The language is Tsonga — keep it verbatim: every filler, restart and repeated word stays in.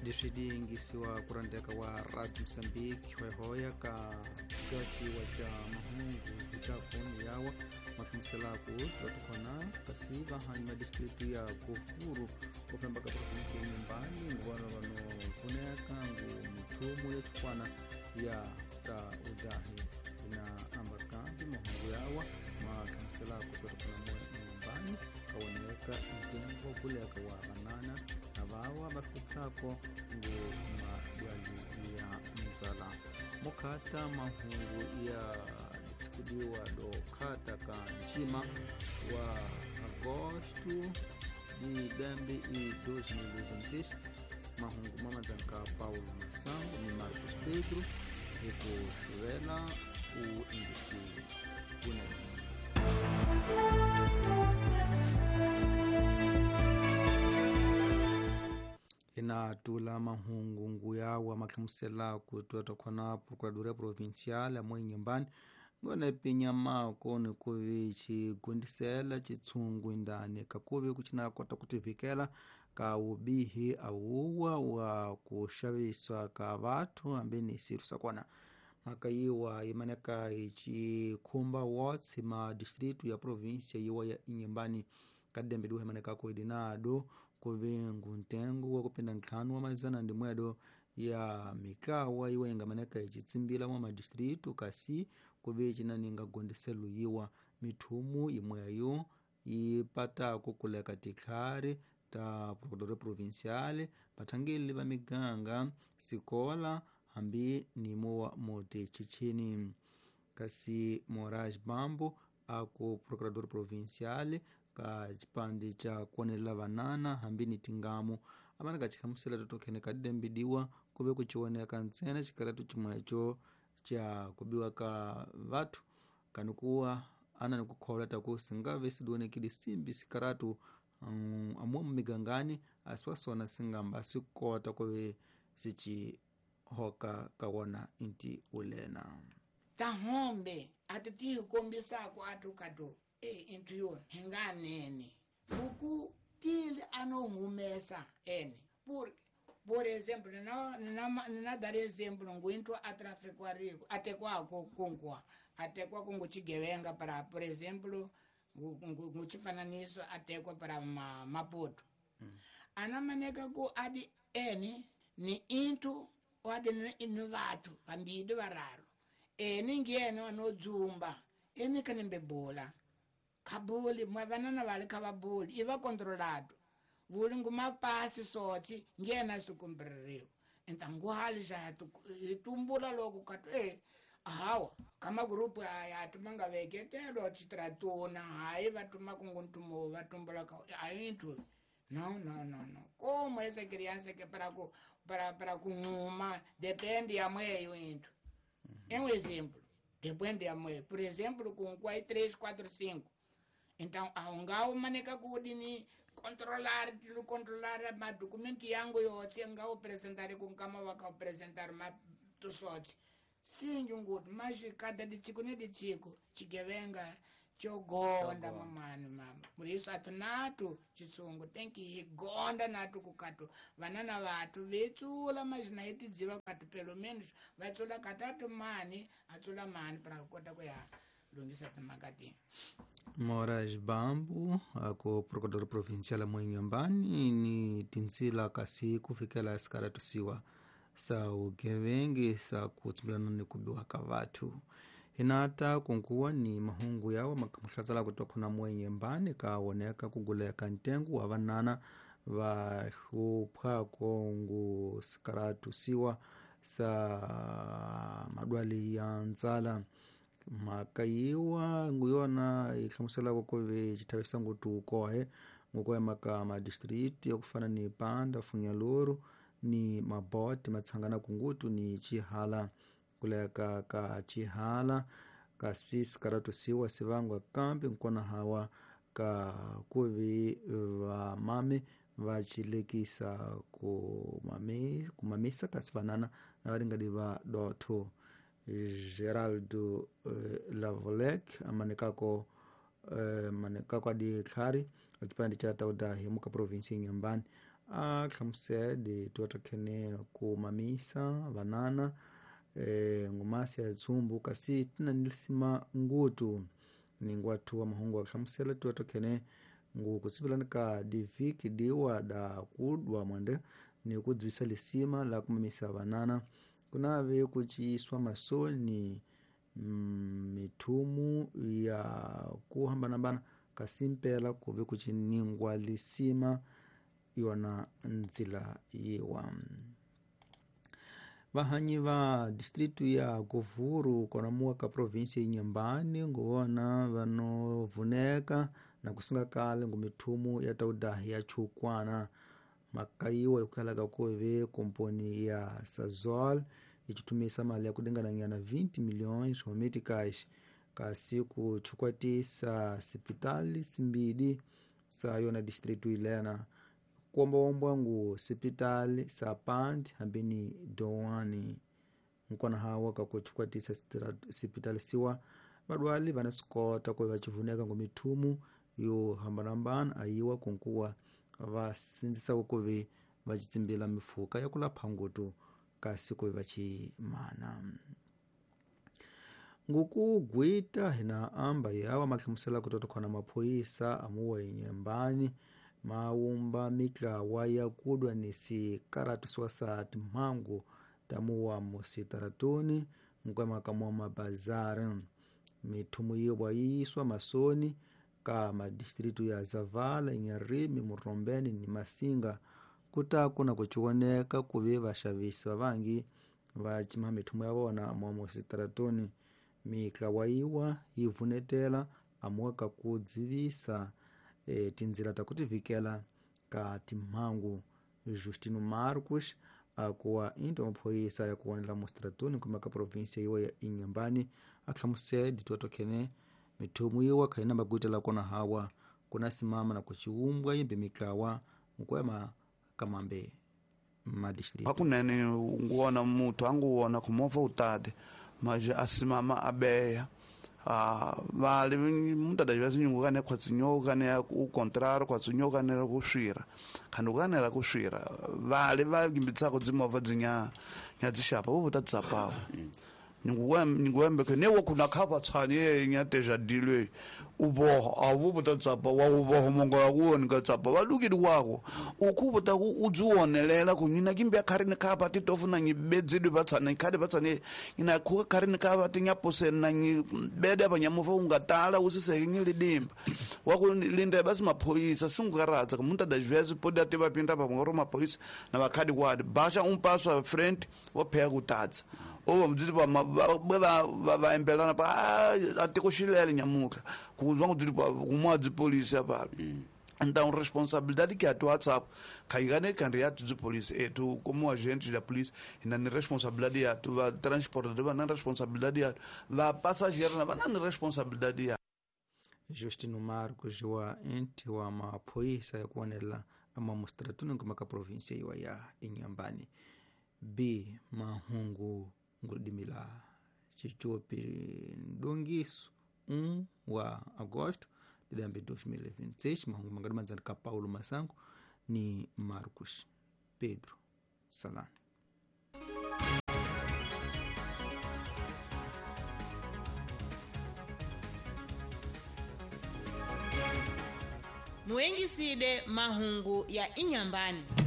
Leswi diyingisiwa kurandeka wa Radio Mozambique hoyahoya ka gaciwa ca mahungu kucakoni yawa mahlamuselaku tatukhona kasi vahanyi ma distritu ya Kufuru kufamba ka provinsi ya Inhambane nguvana vanopfuneka ngu mithumu ya chukwana ya ta udahi ina ambakambi mahungu yawa mahlamuselaku tatukhona moya Inhambane kawoneka ntengo kuleka wa vanana na vawa vathuphako ngu madwali ya mzala mukhata mahungu ya tikudiwa do khata ka njima wa agosto di dembe e dois mil e vinte e seis mahungu mamadzanka Paulo Massango ni Marcos Pedro ekuxuvela u índice kunene. Inatula mahungu nguyawa mahlamusela ku twatwa procuradoria provincial mo Inhambane ngone pinya mako ni kuvi xigundisela xitshungu indani kakuvi kucina kota kutivikela ka ubihi awuwa wa ku xaviswa ka vathu hambi ni siru sa kona mhaka yiwa yimaneka yi wards ma distritu ya província yiwa ya Inhambane kadembe duhe maneka ko idinado kuvingu ntengo wa kupinda ntlhanu wa mazana ndi mwedo ya mikawa iwe ingamaneka ichitsimbila mwa madistritu kasi kuve cinaninga gondeselo yiwa mithumu imweyo ipatako kuleka tikhari ta procuradoria provincial vathangeli va miganga sikola hambi nimo mutichichini kasi Moraes Bambo aku procurador provincial ka chipande cha kuonelela vanana hambi ni tingamu amana kachihamusela totokhene kadembidiwa kuve kuchioneka ntsena xikaratu chimwecho cha kubiwa ka vathu kanukuwa ana nikukhola taku singave sidionekile simbi sikaratu um, amwe mumigangani asiwasona singamba sikota kuve sichihoka kawona inti ulena tahombe ati tikombisako atukatu e intu yo hinganene buku tili anohumesa ene por por exemplo na na na dar exemplo nguintu atrafikwariku atekwako kunkwa atekwa kungu chigevenga para por exemplo nguchifananiso atekwa para ma, Maputo mm. Anamaneka ku adi ene ni intu adi ni vathu vambili vararu ene ngiyena anodzumba ene kanembe bola kabuli mwe vanana vali kavabuli iva controlado vuli ngumapasi sotsi ngena sikumbreriwa entanguhali xa hitumbula loko katu e hawa kama grupu aya tumanga veketelo chitratuna hayi vatuma kunguntumo vatumbula ka ayintu no no no no como essa criança que para ku para para kunhuma depende ya mweyo into é um exemplo depende ya mweyo por exemplo com quatro três quatro cinco então aungao maneka kudini controlar tilu controlar ma documento yangu yotse ngao apresentar com kama waka apresentar ma tusotse sinjunguti mas cada dichico ne dichico chigevenga chogonda mamani mama muriso atinatu chitsungu tenki higonda natu kukatu vanana vatu vetsula mazina etidziva katu pelo menos vatsula katatu mani atsula mani para kukota kuya lungisa timakati Moraes Bambo ako procurador provincial mo Inhambane ni tinsila kasi kufikela sikaratusiwa sa ugevengi sa kutsimbilana ni kubiwa ka vathu hinata kunkuwa ni mahungu yawa makamuhlatsala kutokhona mo Inhambane kawoneka kuguleka ntengo wa vanana va hluphako ngu sikaratusiwa sa madwali ya ntsala mhaka yiwa nguyona yi hlamuselaka ku ve xithavisa ngopfu kohe nguku maka madistrict ya ku fana ni Panda Funyaluru ni Mabote matshangana kungutu ni Chihala kuleka ka Chihala kasi sikaratusiwa sivangwa kambi nkona hawa ka kuvi vamame va chilekisa kumami kumamisa kasi vanana na varingadi va dotho Geraldo eh, Lavolek amanekako eh, manekako adi tlhari chipande cha tauda himuka province Inhambane A hlamusele tuwatakhene ku mamisa vanana e, ngumasi ya tsumbu kasi tina nilisima ngutu ningwathu wa mahungu ahlamusela tuwatakhene ngu kusipilani ka diviki diwa da kudwa mwande ni kudzivisa lisima la kumamisa vanana kunave kuchiiswa masoni mm, mithumu ya kuhambanahambana kasi mpela kuve kuchiningwa lisima yona ndzila yiwa. Vahanyi va distritu ya Govuru kona muwa ka provinsia Inhambane nguvona vanovuneka na kusinga kale ngu mithumu ya taudahi ya chukwana makayiwa ikukhalaka kuve komponi ya Sazol ichitumisa mali ya kudengananyana vinte milhões meticais kasi kuchukwatisa sipitali simbidi sa yona distritu ilena kuombaombwa ngu sipitali sa Pandi hambini Doani nkona hawa kakuchukwatisa sipitali siwa vadwali vanasikota kuve vachivuneka ngu mithumu yo hambanahambana ayiwa kunkuwa vasindzisa kuve vachitsimbila mifuka ya kulapha ngutu kasi kuve vachimana. Ngukugwita hina amba yawa mahlamusela kutoto khona maphoyisa amuwa Inhambane maumba mitlawa ya kudwa ni sikaratu swa sa timhangu tamuwa musitaratuni nkwemaka mwa mabazari. Mithumu yiwa yiyiswa masoni ka madistritu ya Zavala, Inharime, Murombeni ni Masinga kutaku na kuchiwoneka kuve vaxavisi vavangi va cima mithumu ya vona mwa musitaratuni. Mitlawa yiwa yi vunetela amuwa ka ku dzivisa e, tindzila ta kutivikela ka timhangu. Justino Marcos akuwa into maphoyisa ya kuwonela musitratuni kuma ka provinsia yiwa ya Inhambane ahlamusele dituatokhene mithumu yiwa khaina magwitela kona hawa kuna simama na kuchiumbwa yimbi mitlawa nkwema kamambe madistritu. Hakunene nguwona muthu anguwona kumovha utade maje asimama abeya. Ah, vale mutada vyazinyungu kane khwatsinyoka kane u contrario khwatsinyoka kane ku swira khandi kanela ku swira vale va gimbitsako dzimovha dzinya nya dzishapa vo ta tsapawo nyungu wembe ke ne wo kuna khapa tshani nya teja dilwe uboho awu buta tsapa wa uboho mongola kuoni ka tsapa va lukili wako ukhubuta ku udziwonelela ku nyina kimbi akharini khapa ti tofuna nyibedzidwe vatsana khadi vatsane nyina khuka kharini khapa ti nyapuseni na nyibede apa nyamuva ungatala usiseke nyilidimba waku linda basi maphoyisa singukaradza kumuntu adazvezi podi ati vapinda pa ngoro maphoyisa na vakhadi kwadi basha umpaswa friend wopheka kutadza oba mdziti pa va va embelana pa atikoxilele nyamuka kuzwa kudziti pa kumwa dzipolisi apa. Então responsabilidade que a tua WhatsApp caigane candidato de polícia e tu como agente da polícia na responsabilidade ya tu va transportador na responsabilidade ya va passageiro na na responsabilidade ya. Justino Marcos wa ente wa maphoyisa ya kuonela ama mustratuni kuma ka provinsia iwa ya Inhambane. B mahungu ngudimila chichopi ndongiso um wa agosto de dois mil e vinte e seis. Mahungu mangadi ka Paulo Masango ni Marcos Pedro Salano. Muengiside mahungu ya Inhambane.